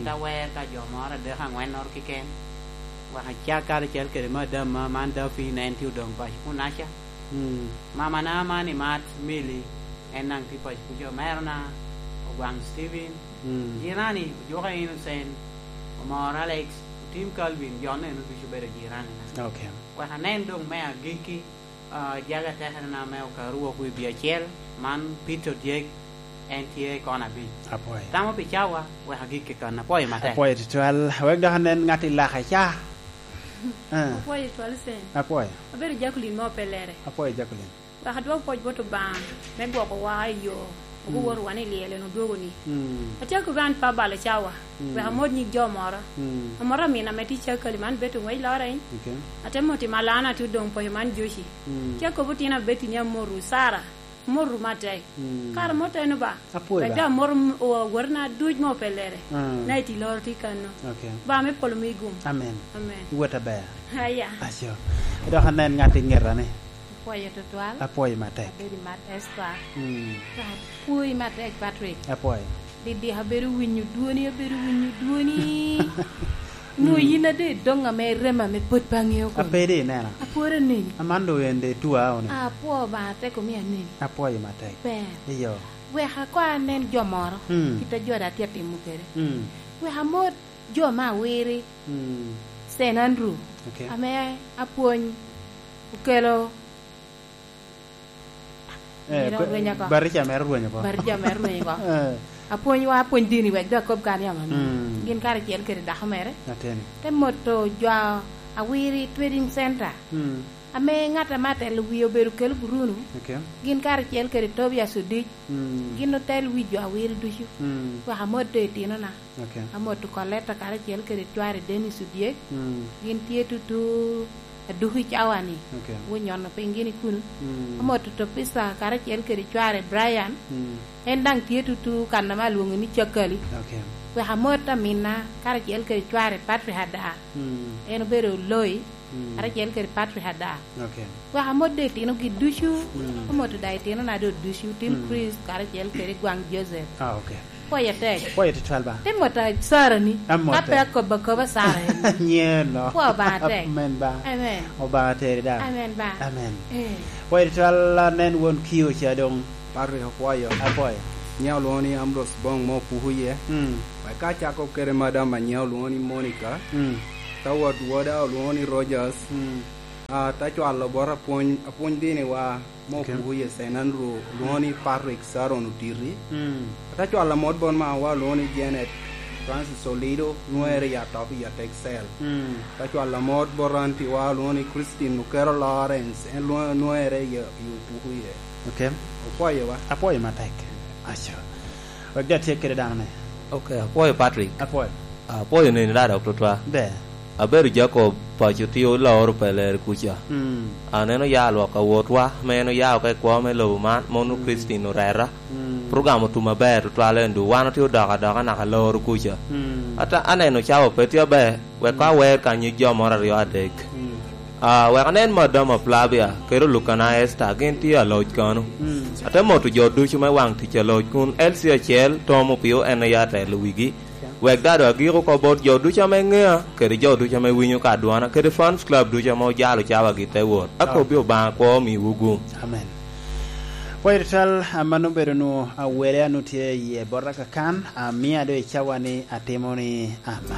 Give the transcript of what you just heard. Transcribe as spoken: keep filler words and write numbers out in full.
Awer ka jo moro adek aŋwennoro keken, wek acak karacel kede madam ma man Dafin, en tye odoŋ paco kunaca. Mm. Mamana man imat Mili, en daŋ tye paco kuca. Omerona, Ogwaŋ Steven, mm, jirani, Ojuka Innocent, Omor Alex, Otim Calvin, jo-nu eno ducu obedo jiranina. Ok. Wek anen doŋ me agikki, ah, jaga tekerena me Okaru wok i bye acel, man Peter Odyek, en tye i kona abic. Apwoyo. Tamo pi cawa, wek agikki kan. Apwoyo matek. Apwoyo tutwal. Wek dok anen ŋat i laka ca. Ah. Apwoyo tutwal, Sen. Apwoyo. Abedo Jacqueline mo Pelere. Apwoyo, Jacqueline. Wek adwok pwoc bot Obaŋa me gwokowa i yo, mm, oguwotowa ni lyel en odwogo-ni. Mm. Atye akobo an pa balo cawa, mm, wek amot nyig jo moro. Mm. Amot amin ame tye i Cakali man, Betty Oŋwec Loreny. Ok. Ate mot i Malana, tye odoŋ paco man, Joci. Mm. Tye akobo otino Betty ni amotwu, Sara, amotwu matek. Mm. Kara mot eno ba. Apwoyo wek ba. Daŋ amot m-, o-, awotona duc mo Pelere. Mm. Na iti loro tye kanno. Ok. Ba me polo mi gum. Amen. Amen. Iwot aber. Aya. Aco. Dok anen ŋat i ŋeta ni. Apwoyo tutwal. Apwoyo matek. Abedo i mat Esther. Mm. Apwoyi matek, Patrick. Apwoyo. Didika abedo winyo dwoni, abedo winyo dwoni. Nwoŋo, mm, yin ade doŋ ame rema ame pwod pe aŋeo koni. Ape di inena. Apwod aneni. Aman doŋ en de tua oni. Apwo Obaŋa tek omio aneni. Apwoyo matek. Ber. Iyo. Wek ako anen jo moro, mm, kit a jo da tye atimo kede. Mm. Wek amot jo me Awiri, mm, Saint Andrew, ok, ame apwony okelo. Eh, mira ba-, orweny oko. Barica mere orweny oko. Barica mere orweny oko. Eh. Apwonywa apwony dini wek dok akob kan yam amin. Mm. Gin karacel kede dako mere. Ateni. Te moto jo Awiri Trading Center. Mm. Ame ŋat ame atelo wie obedo kelo Bruno. Ok. Gin karacel kede Tobias Odic. Mm. Gin otel wi jo Awiri ducu. Mm. Wek amot do itinona. Ok. Amoto Koleta karacel kede cware Dennis Odyek. Mm. Gin tye tutu aduki i cawa-ni. Ok. Wunyono piny gini kuno. Mm. Amoto Topisa karacel kede cware Brian. Mm. En daŋ tye tutu kan ame alwoŋo ni Cakali. Ok. Wek amot aminna karacel kede cware Patrick Ada. Mm. En obedo Loi, mm, karacel kede Patrick Ada. Ok. Wek amot do itinogi ducu, mm, amoto daŋ itinona do ducu, Tim, mm, Chris, karacel kede Gwaŋ Joseph. Ah, ok. Pwoyo tek. Pwoyo tutwal ba. Te mot a Sara ni, amot ka pe tek. Akobo akoba Sara en. Nyeno. Pwo Obaŋa tek. Amen ba. Amen. Obaŋa teri da. Amen ba. Amen. Eh. Pwoyo tutwal, anen won Kio ca doŋ. Patrick, apwoyo. Apwoyo. Nyiŋa olwoŋo ni Ambrose Bong ma opuko iye. Mm. Wek ka acako kede madam a nyiŋa olwoŋo ni Monica. Mm. Ka wot woda olwoŋo ni Rogers. Mm. Ah, te cwalo bot apwony, apwony diniwa ma, ok, opuko iye Saint Andrew, olwoŋo ni Patrick Saron Otiti. Mm. Te cwalo mot bot mawa olwoŋo ni Janet Francis Olido, nwoŋere i atop i Atek Cell. Mm. Te cwalo mot bot antiwa olwoŋo ni Christine Okero Lawrence, en lwoŋ-, nwoŋere i, i opuko iye. Ok. Opwoyowa. Apwoyo matek. Aco. Wek jo atye kede dano-ni. Ok, apwoyo Patrick. Apwoyo. Apwoyo neni rara tutwa. Ber. Abedo Jacob, paco tye oloro Pelere kuca. Mm. Aneno ya lwak awotwa, ma en oya oko i kwo me lobo man, ma onwoŋo, mm, Christine oreta. Mm. Program otum aber tutwal en du. Wan otye odoko adoka naka loro kuca. Mm. Ata aneno cawa pe tye aber, wek, mm, awer ka nyig jo moro aryo adek. Mm. Ah, wek anen Madam Flavia, kede Olukana Esther, gin tye aloc kano. Mm. Ate moto jo ducu me waŋ tic aloc kun L C acel, Tom Opio en aye atelo wigi. Ok. Wek daŋ doŋ agik oko bot jo ducu ame ŋea, kede jo ducu ame winyo ka dwona, kede fans club ducu ame ojalo cawa gi te wot. Akobbi, oh, Obaŋa kwo omiwu gum. Amen. Pwoyo tutwal, a, mano obedo nu awele a nu tye iye bota kakan, a, mia doŋ i cawa ni atimo ni amen.